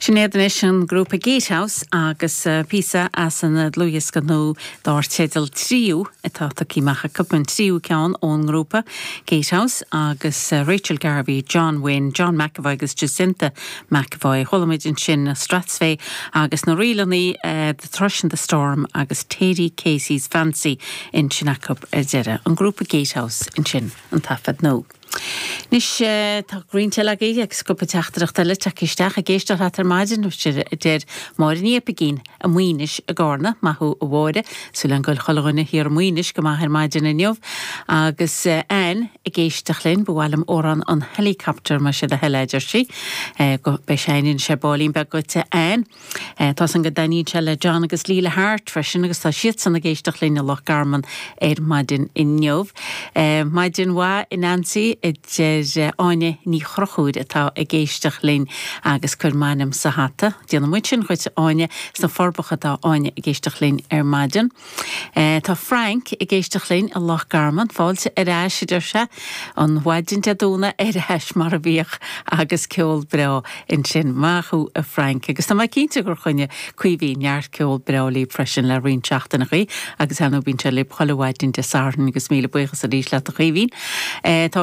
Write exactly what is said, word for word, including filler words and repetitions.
Sin iad anois an grúpa Gatehouse agus uh, píosa as an dlúthdhiosca nua dar teideal tríú atá tagtha amach acu an tríú ceann ón ngrúpa Gatehouse agus uh, Rachel Garvey, John Wynne, John McAvoy agus Jacinta McAvoy. Chuala muid ansin Strathspey agus na rílannaí uh, The Thrush and the Storm agus Teddy Casey's Fancy ansin acu ar deireadh. An grúpa Gatehouse ansin an taifead nua. Anois tá roinnt eile agaibh agus cúpla teachtaireacht eile tagtha isteach ag éisteacht leat ar maidin a deir Máire Ní Oipeigín i Maínis i gCarna maith thú a Mháire súil agam go bhfuil chuile dhuine thiar i Maínis go maith ar maidin inniu agus Ann ag éisteacht linn ba mhaith liom amhrán an helicopter mar sé a heidir sí go be séin sé bálín be goite ein. Tá an go daní se le John agus Líla Hart freisin agus tá siadsan ag éisteacht linn i Loch Garman ar maidin inniu. Maidin mhaith a Nancy a deir Áine Ní Chrochúir atá ag éisteacht linn agus cuir m'ainm sa hata. Déanfaidh muid sin dhuit Áine sna Forbacha atá Áine ag éisteacht linn ar maidin. E, tá Frank ag éisteacht linn i Loch Garman fáilte ar ais deir sé an mhaidin Dé Domhnaigh ar ais mar a bhíodh agus ceol breá ansin maith thú a Frank agus tá mé cinnte gur choinnigh Caoimhín neart ceol breá libh freisin le roinnt seachtainí agus bíonn sé libh chuile mhaidin Dé Sathairn agus míle buíochas arís leat a Chaoimhín. E, tá